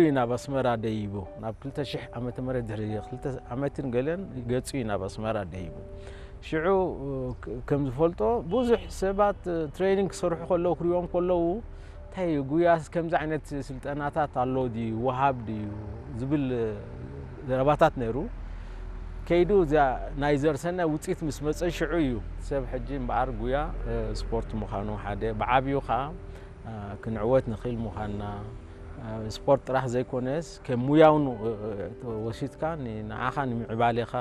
እዩ ናብ ኣስመራ ደይቡ። ናብ ክልተ ሽሕ ዓመተ ምህረት ድሕሪ ክልተ ዓመትን ገለን ገጹ እዩ ናብ ኣስመራ ደይቡ። ሽዑ ከም ዝፈልጦ ብዙሕ ሰባት ትሬኒንግ ክሰርሑ ከለዉ ክሪኦም ከለዉ እንታይ እዩ ጉያስ ከምዚ ዓይነት ስልጠናታት ኣሎ ድዩ ወሃብ ድዩ ዝብል ዘረባታት ነይሩ። ከይዱ እዚኣ ናይ ዘርሰናይ ውፅኢት ምስ መፀ ሽዑ እዩ ሰብ ሕጂ እምበኣር ጉያ ስፖርት ምዃኑ ሓደ ብዓብዩ ከዓ ክንዕወት ንኽእል ምዃንና ስፖርት ጥራሕ ዘይኮነስ ከም ሙያውን ወሲድካ ንዓኻ ንምዕባሌኻ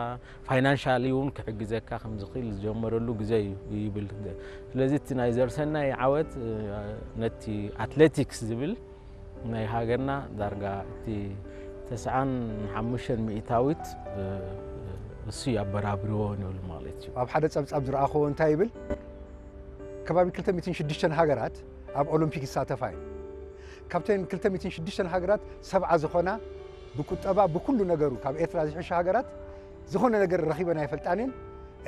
ፋይናንሻሊ እውን ክሕግዘካ ከም ዝኽእል ዝጀመረሉ ግዜ እዩ ይብል። ስለዚ እቲ ናይ ዘርሰናይ ዓወት ነቲ ኣትሌቲክስ ዝብል ናይ ሃገርና ዳርጋ እቲ ተስዓን ሓሙሽተን ሚእታዊት እሱ ያበራብርዎ ንብል ማለት እዩ። ኣብ ሓደ ጸብጻብ ዝረኣኽዎ እንታይ ይብል? ከባቢ ክልተ ሚእትን ሽዱሽተን ሃገራት ኣብ ኦሎምፒክ ይሳተፋ እዩ። ካብተን ክልተ ሚእትን ሽዱሽተን ሃገራት ሰብዓ ዝኾና ብቁጠባ ብኩሉ ነገሩ ካብ ኤርትራ ዝሕሹ ሃገራት ዝኾነ ነገር ረኺበን ኣይፈልጣን እየን።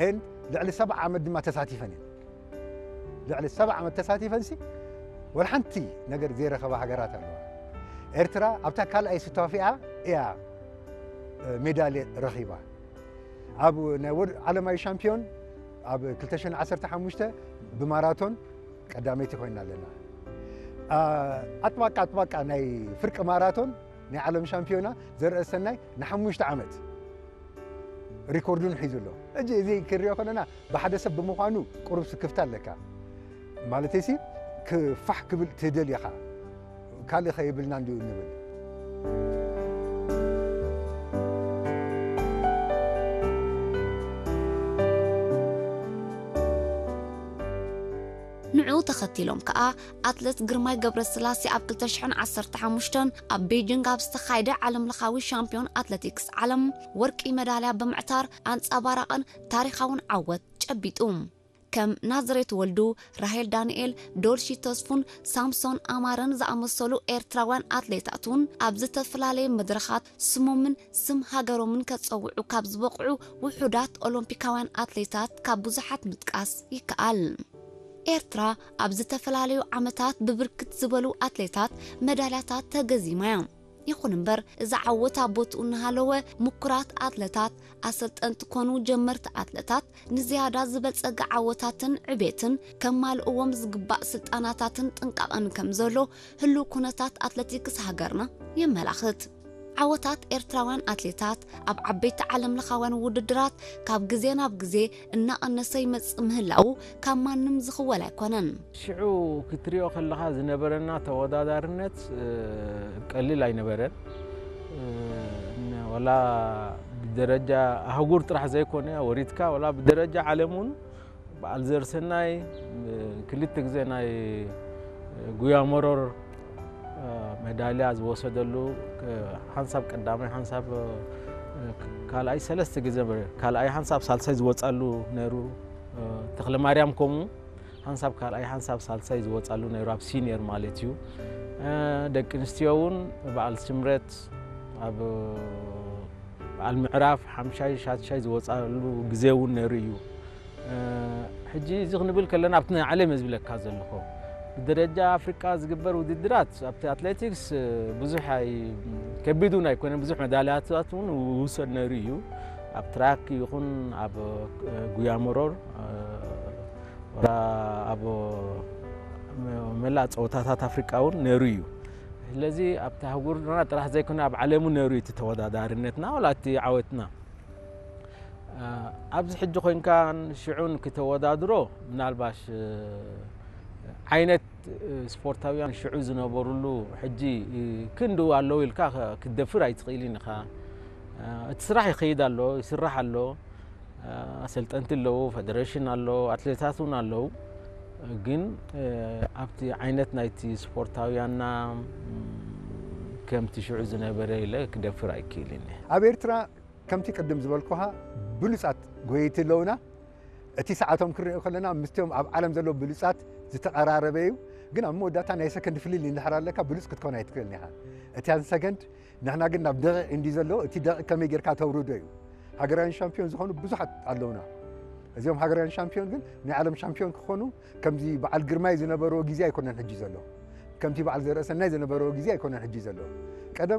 And ልዕሊ ሰብዓ ዓመት ድማ ተሳቲፈን እየን። ልዕሊ ሰብዓ ዓመት ተሳቲፈንሲ ወላ ሓንቲ ነገር ዘይረኸባ ሃገራት ኣለዋ። ኤርትራ ኣብታ ካልኣይ ስታፊኣ እያ ሜዳልየ ረኺባ። ኣብ ናይ ወር ዓለማዊ ሻምፒዮን ኣብ ክልተ ሽሕን ዓሰርተ ሓሙሽተ ብማራቶን ቀዳመይቲ ኮይና ኣለና። ኣጥባቃ ኣጥባቃ ናይ ፍርቂ ማራቶን ናይ ዓለም ሻምፒዮና ዘርአ ሰናይ ንሓሙሽተ ዓመት ሪኮርዱን ሒዙ ኣሎ። እጂ እዚ ክሪኦ ከለና ብሓደ ሰብ ብምዃኑ ቁሩብ ስክፍታ ኣለካ። ማለተይሲ ክፋሕ ክብል ትደል ኢኻ። ካልእ ከይብልና እንዲዩ እንብል። ንዕኡ ተኸቲሎም ከኣ ኣትለት ግርማይ ገብረስላሴ ኣብ ክልተ ሽሕን ዓሰርተ ሓሙሽተን ኣብ ቤጂንግ ኣብ ዝተኻየደ ዓለምለኻዊ ሻምፒዮን ኣትለቲክስ ዓለም ወርቂ መዳልያ ብምዕታር ኣንጸባራቕን ታሪኻውን ዓወት ጨቢጡ። ከም ናዝሬት ወልዱ፣ ራሄል ዳንኤል፣ ዶልሺ ተስፉን ሳምሶን ኣማረን ዝኣመሰሉ ኤርትራውያን ኣትሌታት እውን ኣብ ዝተፈላለየ መድረኻት ስሞምን ስም ሃገሮምን ከጸውዑ ካብ ዝበቕዑ ውሑዳት ኦሎምፒካውያን ኣትሌታት ካብ ብዙሓት ምጥቃስ ይከኣል። ኤርትራ ኣብ ዝተፈላለዩ ዓመታት ብብርክት ዝበሉ ኣትሌታት መዳልያታት ተገዚማ እያ። ይኹን እምበር እዚ ዓወት ኣብ ቦትኡ እናሃለወ ምኩራት ኣትለታት ኣሰልጠንቲ ኮኑ ጀመርቲ ኣትለታት ንዝያዳ ዝበልጸገ ዓወታትን ዕቤትን ከማልእዎም ዝግባእ ስልጣናታትን ጥንቃቐን ከም ዘሎ ህሉው ኩነታት ኣትለቲክስ ሃገርና የመላኽት። ዓወታት ኤርትራውያን ኣትሌታት ኣብ ዓበይቲ ዓለምለኻውያን ውድድራት ካብ ግዜ ናብ ግዜ እናቐነሰ ይመጽእ ምህላዉ ካብ ማንም ዝኽወል ኣይኮነን። ሽዑ ክትሪኦ ከለኻ ዝነበረና ተወዳዳርነት ቀሊል ኣይነበረን። ወላ ብደረጃ ኣህጉር ጥራሕ ዘይኮነ ወሪድካ ወላ ብደረጃ ዓለም እውን በዓል ዘርሰናይ ክልተ ግዜ ናይ ጉያ መሮር መዳልያ ዝወሰደሉ ሓንሳብ ቀዳማይ ሓንሳብ ካልኣይ ሰለስተ ግዜ ካልኣይ ሓንሳብ ሳልሳይ ዝወፃሉ ነይሩ። ተኽለ ማርያም ከምኡ ሓንሳብ ካልኣይ ሓንሳብ ሳልሳይ ዝወፃሉ ነይሩ ኣብ ሲኒየር ማለት እዩ። ደቂ ኣንስትዮ እውን በዓል ስምረት ኣብ በዓል ምዕራፍ ሓምሻይ ሻድሻይ ዝወፃሉ ግዜ እውን ነይሩ እዩ። ሕጂ እዚ ክንብል ከለና ኣብቲ ናይ ዓለም እየ ዝብለካ ዘለኹ። ብደረጃ ኣፍሪቃ ዝግበር ውድድራት ኣብቲ ኣትሌቲክስ ብዙሕ ኣይ ከቢድ እውን ኣይኮነን። ብዙሕ መዳልያታት እውን ውሰድ ነይሩ እዩ። ኣብ ትራክ ይኹን ኣብ ጉያ መሮር ወላ ኣብ መላእ ፀወታታት ኣፍሪቃ እውን ነይሩ እዩ። ስለዚ ኣብቲ ኣህጉርና ጥራሕ ዘይኮነ ኣብ ዓለሙ ነይሩ እዩ እቲ ተወዳዳሪነትና ወላ እቲ ዓወትና። ኣብዚ ሕጂ ኮይንካ ሽዑን ክተወዳድሮ ምናልባሽ ዓይነት ስፖርታውያን ሽዑ ዝነበሩሉ ሕጂ ክንድኡ ኣለዉ ኢልካ ክትደፍር ኣይትኽእልን ኢኻ። እቲ ስራሕ ይኸይድ ኣሎ፣ ይስራሕ ኣሎ። ኣሰልጠንቲ ኣለዉ፣ ፈደረሽን ኣሎ፣ ኣትሌታት እውን ኣለዉ። ግን ኣብቲ ዓይነት ናይቲ ስፖርታውያንና ከምቲ ሽዑ ዝነበረ ኢለ ክደፍር ኣይክእልን እየ። ኣብ ኤርትራ ከምቲ ቅድም ዝበልኩኻ ብሉጻት ጎየይቲ ኣለዉና። እቲ ሰዓቶም ክንሪኦ ከለና ምስቶም ኣብ ዓለም ዘለዉ ብሉጻት ዝተቐራረበ እዩ። ግን ኣብ መወዳእታ ናይ ሰከንድ ፍልልይ እንድሕር ኣለካ ብሉጽ ክትኮን ኣይትክእልን ኢኻ። እቲ ሰከንድ ንሕና ግን ናብ ደቂቕ እንዲ ዘሎ እቲ ደቂቕ ከመይ ጌርካ ተውርዶ እዩ። ሃገራውያን ሻምፒዮን ዝኾኑ ብዙሓት ኣለውና። እዚኦም ሃገራውያን ሻምፒዮን ግን ናይ ዓለም ሻምፒዮን ክኾኑ ከምዚ በዓል ግርማይ ዝነበርዎ ግዜ ኣይኮነን ሕጂ ዘሎ። ከምቲ በዓል ዘርእሰናይ ዝነበርዎ ግዜ ኣይኮነን ሕጂ ዘሎ። ቀደም